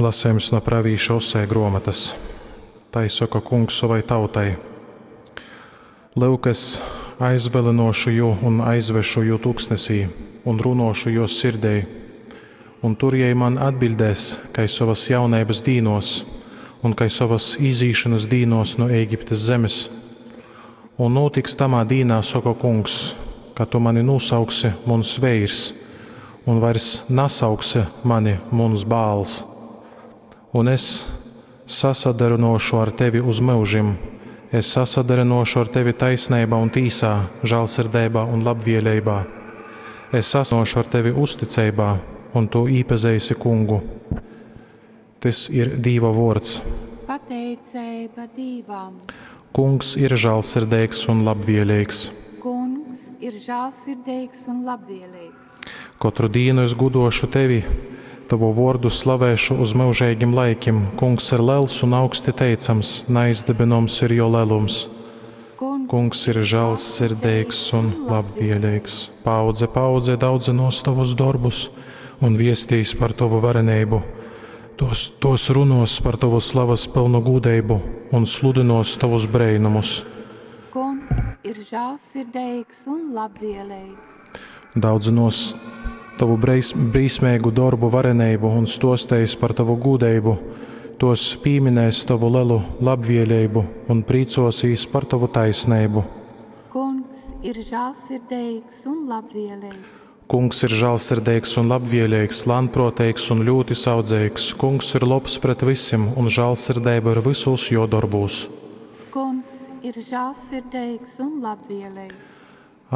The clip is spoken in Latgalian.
Lasejums no pravīša Osē gruomotas. Tai soka Kungs sovai tautai: Lyuk, es aizvylynōšu jū un aizvesšu jū tuksnesī un runōšu jōs sirdei. Un tur jei man atbiļdēs, kai sovas jauneibas dīnōs un kai sovas izīšonas dīnōs nu Ēgiptes zemes. Un nūtiks tamā dīnā, soka Kungs, ka tu mani nūsauksi muns veirs un vairs nasauksi mani muns Baals. Un es sasadarynōšu ar tevi uz myužim, es sasadarynōšu ar tevi taisneibā un tīsā, žālsirdeibā un labvieleibā. Es sasadarynōšu ar tevi uzticeibā, un tu īpazeisi Kungu. Tys ir Dīva vōrds. Pateiceiba Dīvam. Kungs ir žālsirdeigs un labvieleigs. Kungs ir žālsirdeigs un labvēlīgs. Kotru dīnu es gūdōšu tevi, tovu vōrdu slavēšu uz myužeigim laikim. Kungs ir lels un augsti teicams, naizdibinoms ir jō lelums. Kungs, Kungs ir žālsirdeigs un labvēlīgs. Paudze paudzei daudzynōs tovus dorbus un viestīs par tovu vareneibu. Tos runōs par tovu slavas pylnu gūdeibu un sludynōs tovus breinumus. Kungs ir žālsirdeigs un labvēlīgs. Daudzynōs tovu brīsmeigu dorbu vareneibu un stōsteis par tovu gūdeibu. Tos pīminēs tovu lelu labvēleibu un prīcōsīs par tovu taisneibu. Kungs ir žālsirdeigs un labvēlīgs. Kungs ir žālsirdeigs un labvēlīgs, lānprōteigs un ļūti saudzeigs. Kungs ir lobs pret vysim, un žālsirdeiba ir vysūs jō dorbūs. Kungs ir žālsirdeigs un labvēlīgs.